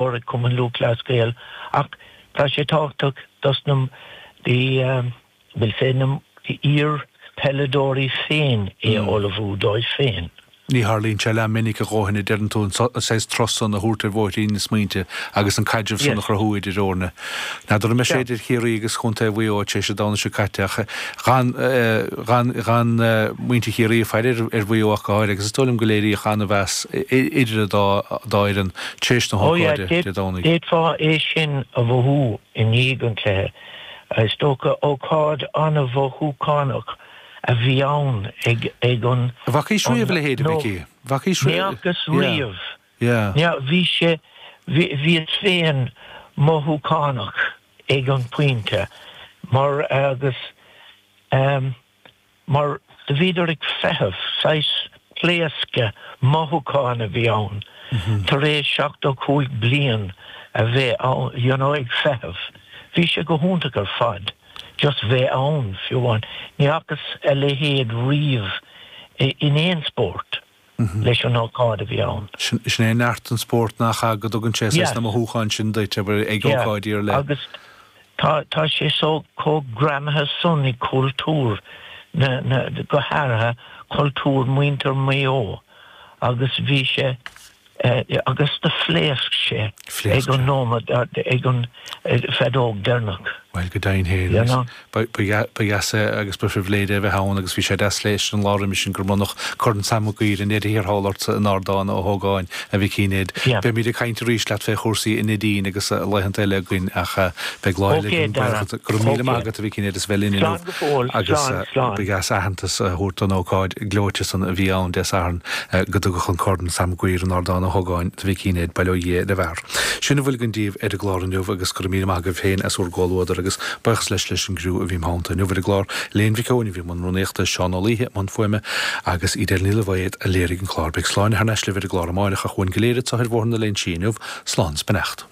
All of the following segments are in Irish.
mór ag Cumann Lúthchleas Gael ach tá sé tábhachtach dos na the we'll say na iar-pheileadóirí féin é a ullmhú dóibh féin. Ní tharlaíonn sé leath minic a dhóthain, a deireann tú, an saghas turas san a thabhairt ar bhóithrín na smaointe agus an caidreamh san a chruthú idir fhoirne. N'fheadar an mbeidh sé idir Chiarraí agus Chontae Mhaigh Eo tar éis an Domhnaigh seo caite ach gan, gan, gan muintir Chiarraí ag faire ar Mhaigh Eo ach go háirithe agus is dóigh liom go léiríodh an-mheas idir an dá fhoireann tar éis na Oh yeah, hócáide Dé Domhnaigh. d'fhéadfá é sin a mhothú i ndiaidh an chluiche. Is dócha ócáid an-mhothúchánach a bhí ann ag ag an An bhfacaís riamh a leithéid, a Mhicí? Bhfacaís Ní fhacas riamh. Yeah. Ní bhí sé bhíos féin mothúchánach ag an pointe mar agus ehm mar do bhíodar ag feitheamh, saghas pléascadh mothúchán a bhí ann tar éis 75 bliain a bheith ann you know ag feitheamh. Bhí sé go hiontach ar fad. just bheith ann, fiú amháin. Ní fhacas a leithéid riamh in aon spórt leis an ócáid a bhí ann. Sin é neart an spóirt nach ea, go dtugann sé saghas na mothúcháin sin duit, abair, ag ócáidí ar leith. Agus tá tá sé so chomh greamaithe san i cultúr na, na, go háirithe cultúr muintir Mhaigh Eo agus bhí sé, Agus do phléasc sé ag an nóiméad, ag an feadóg deireanach. Bhuel, go deimhin féin, You know? ba dheas é agus ba phribhléid é a bheith ann agus bhí sé deas leis an lá roimis sin gur bronnadh Corn Sam Maguire i ndeireadh thiar thall ortsa in Ardán Ó hÓgáin, a Mhicí Ned. Beimid ag caint arís leat fé chúrsaí a Neidín agus laethanta eile againn ach beidh lá eile Ok, againn. Dara. Go raibh míle maith Ok. agat, a Mhicí Ned, as bheith linn inniu Slán go fóill. agus Slán, slán. ba dheas aitheantas a thabhairt don ócáid gleoite san a bhí ann Dé Sathairn. Go dtugadh an Corn Sam Maguire in Ardán Ó hÓgáin do Mhicí Ned, bail ó Dhia ar an bhfear. Sin a bhfuil againn daoibh ar an gclár inniu agus go raibh míle maith agaibh féin as bhur gcomhluadar agus buíochas leis leis an gcriú a bhí im theannta inniu ar an gclár, Elaine Mhic Eoin a bhí i mbun rúnaíochta, Seán Ó Laoithe i mbun fuaime agus Edel Ní Loibhéad a léirigh an clár. Beidh Sláine thar n-ais libh ar an gclár amáireach ach uainn go léir anseo ar Bhóthar na Léinsí inniu, slán is beannacht.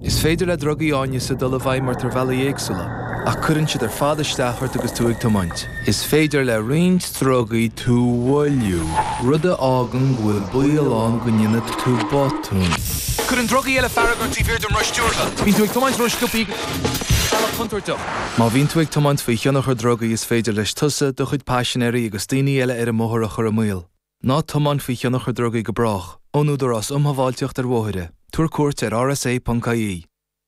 Is féidir le drugaí áineasa dul i bhfeidhm ort ar bhealaí éagsúla, ach cuireann siad ar fad isteach ort agus tú ag tiomáint. Is féidir le roinnt drugaí tú a mhoilliú, rud a fhágann go bhfuil baol ann go ndéanfaidh tú botún. Cuireann drugaí eile fearg ort taobh thiar den roth stiúrtha. Bíonn tú ag tiomáint ró-sciobtha bealach contúirteach. Má bhíonn tú ag tiomáint faoi thionchar drugaí is féidir leis tusa, do chuid paisinéirí agus daoine eile ar an mbóthar a chur i mbaol. Ná tiomáin faoi thionchar drugaí go brách. Ón Údarás Um Shábháilteacht ar Bhóithre. Tabhair cuairt ar rsa.ie.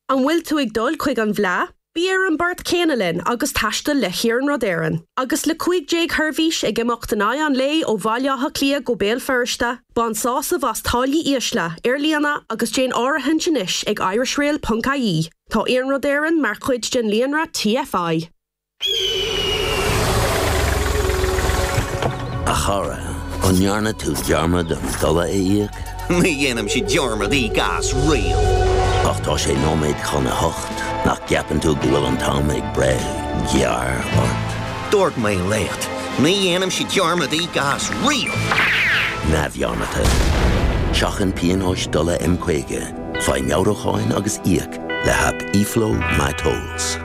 An bhfuil tú ag dul chuig an bhFleadh? Bí ar an bport céanna linn agus taistil le hIarnród Éireann. Agus le 15 sheirbhís ag imeacht in aghaidh an lae ó Bhaile Átha Cliath go Béal Feirste, bain sásamh as táillí ísle, ar líne agus déan áirithint anois ag irishrail.ie. Tá Iarnród Éireann mar chuid den líonra TFI. A chara, an ndearna tú dearmad an dola a íoc? Ní dhéanaimse dearmad íoc as riamh. Ach tá sé nóiméad chun a hocht, nach gceapann tú go bhfuil an t-am ag breith gearr ort? Dúirt mé leat, ní dhéanaimse dearmad íoc as riamh! Neamhdhearmadta. Seachain pionóis dola M50, faigh meabhrúcháin agus íoc le haip eFlow MyTolls.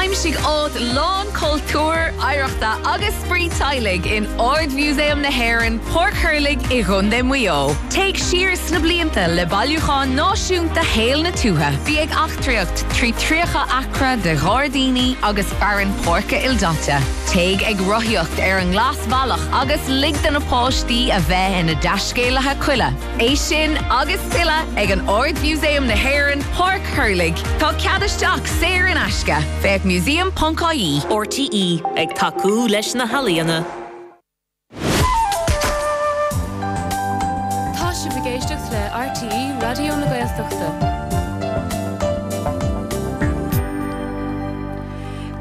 Aimsigh áit lán cultúir, oidhreachta agus spraoi teaghlaigh in Ard-Mhúsaem na hÉireann, Páirc Thurlaigh i gContae Mhaigh Eo. Téigh siar sna blianta le bailiúchán náisiúnta shaol na tuaithe. Bí ag eachtraíocht trí 30 acra de ghairdíní agus fearann páirce ildaite. Téigh ag rothaíocht ar an nGlasbhealach agus lig do na páistí a bheith ina dtaiscéalaithe coille. É sin agus tuilleadh ag an Ard-Mhúsaem na hÉireann, Páirc Thurlaigh. Tá cead isteach saor in aisce. Féach museum.ie. RTÉ, ag tacú leis na healaíona. Tá sibh ag éisteacht le RTÉ Raidió na Gaeltachta.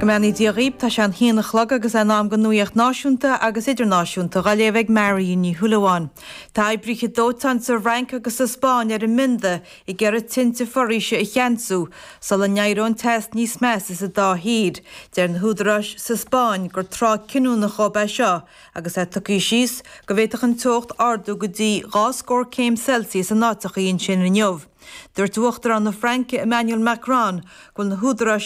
Go mbeannaí Dia dhaoib, tá sé an haon a chlog agus é in am don nuaíocht náisiúnta agus idirnáisiúnta dhá léamh ag Marion Ní Shúilleabháin. Tá oibrithe dóiteáin sa Fhrainc agus sa Spáinn ar a mbionda ag iarraidh tinte foraoise a cheansú sula n-éireoidh an teas níos measa sa dá thír. Deir na húdaráis sa Spáinn gur tráth cinniúnach dhóibh é seo agus é tugtha síos go bhféadfadh an teocht ardú go dtí dhá scór céim Celsius in áiteachaí ansin inniu. Dúirt Uachtarán na Fraince Emmanuel Macron go bhfuil na húdaráis.